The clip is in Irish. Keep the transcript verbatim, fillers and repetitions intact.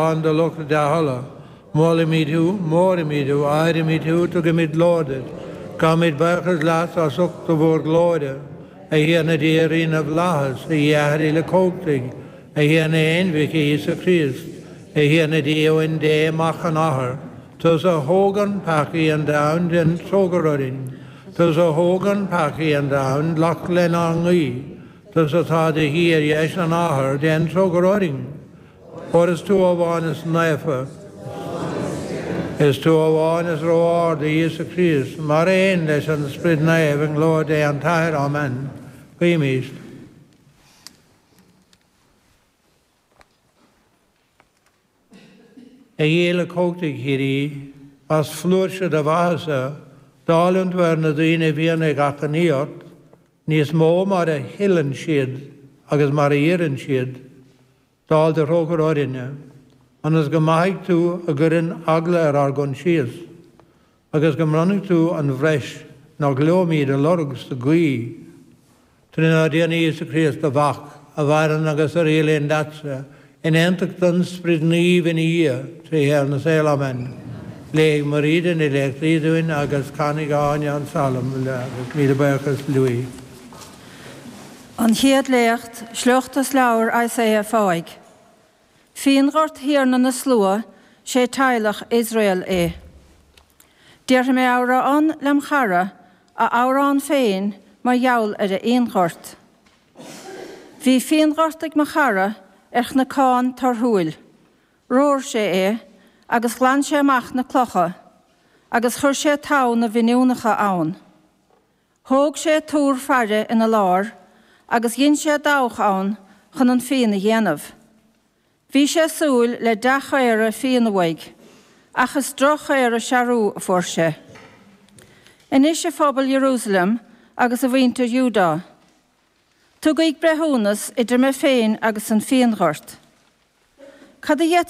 Lán de lucht a dea-thola, molaimid thú, móraimid thú, adhraimid thú, tugaimid glóir duit, gabhaimid buíochas leat as ucht do mhórghlóire, a Thiarna Dia Rí na bhFlaitheas, a Dhia Athar Uilechumhachtaigh, a Thiarna Aonmhic, a Íosa Críost, a Thiarna Dia Uain Dé, Mac an Athar, tusa a thógann peacaí an domhain, déan trócaire orainn, tusa a thógann peacaí an domhain, glac lenár nguí, tusa atá i do shuí ar dheis an Athar, déan trócaire orainn. Óir is tú amháin is naofa, is tú amháin is ró-ard, a Íosa Críost, mar aon leis an Sprid Naomh i nglóir Dé an tAthair. Amen. Guímis. A Dhia Uilechumhachtaigh shíoraí, as flúirse do mhaitheasa, dáileann tú ar na daoine a bhíonn ag achainí ort, níos mó mar a thuilleann siad agus mar a iarrann siad. Dáil do thrócaire orainne, ionas go maithfidh tú a gcuireann eagla ar ár gcoinsias, agus go mbronnfaidh tú an bhreis nach leomid a lorg sa ghuí, trínár dTiarna Íosa Críost, do Mhac, a mhaireann agus a rialaíonn leatsa, in aontacht an Sprid Naoimh ina Dhia, trí shaol na saol. Amen. Léifidh Mairíde na léachtaí dúinn agus canfaidh Áine an Salm, agus míle buíochas Louis. An Chéad Léacht, Sliocht as Leabhar Isaiah Fáidh. Fíonghort Thiarna na Slua, sé teaghlach Iosrael é. Déarfaidh mé amhrán lem chara, a amhrán féin mar gheall ar a fhíonghort. Bhí fíonghort ag mo chara ar chnocán torthúil. Romhair sé é agus ghlan sé amach na clocha, agus chuir sé tamhan na bhfíniúnacha ann. Thóg sé túr faire ina lár agus dhein sé dabhach ann chun an fíon a dhéanamh. Bhí sé ag súil le dea-chaora fíona uaidh, ach is droch-chaora searbha a fuair sé. Anois a phobal Iarúsailéim agus a mhuintir Iúdá, tugaig breithiúnas idir mé féin agus an fíonghort. Cad a d'fhéadfainn